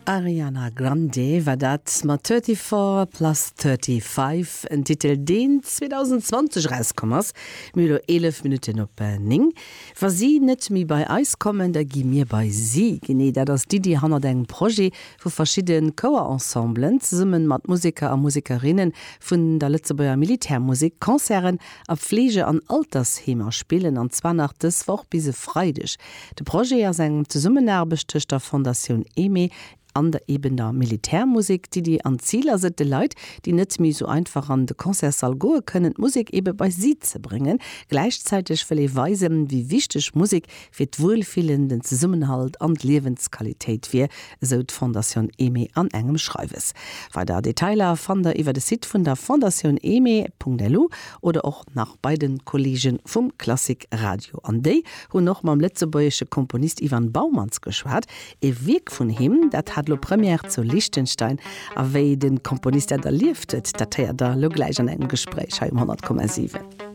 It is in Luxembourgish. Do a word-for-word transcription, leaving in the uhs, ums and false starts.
Ariana Grande war dat mat Thirty-Four Plus Thirty-Five, en Titel deen zweedausendzwanzeg erauskomm ass. Mir hu lo eelef Minutten op néng. Wa si net méi bei eis kommen, da gi mir bei si. Genee dat ass d'Iddi hannert engem Projet, wou verschidde Chouerensemblen zesumme mat Museker a Musekerinne vun der Lëtzebuerger Militärmusek Concerten a Fleege an Altersheemer spillen, an zwar nach dës Woch bis e Freideg. De Projet ass eng Zesummenaarbecht tëscht der Fondatioun Aimée an der eben der Militärmusek. D'Iddi an d'Zil ass et, de Leit, déi net méi esou einfach an de Concertssall goe kënnen, d'Musek ebe bei si ze bréngen. Gläichzäiteg wëll ee weisen, wéi wichteg Musek fir d'Wuelfillen, den Zesummenhalt an d'Liewensqualitéit wier, esou d'Fondatioun Aimée an engem Schreiwes. Weider Detailer fannt der iwwer de Site vun der Fondatioun Aimée.lu oder och nach bei de Kolleege vum Klassik Radio. An déi hunn och mam lëtzebuergesche Komponist Ivan Baumanns geschwat. E Wierk vun him, dat hat lo Première zu Liechtenstein. A wéi de Komponist dat erlieft huet, dat héiert der lo gläich an engem Gespréich hei um honnert Komma siwen.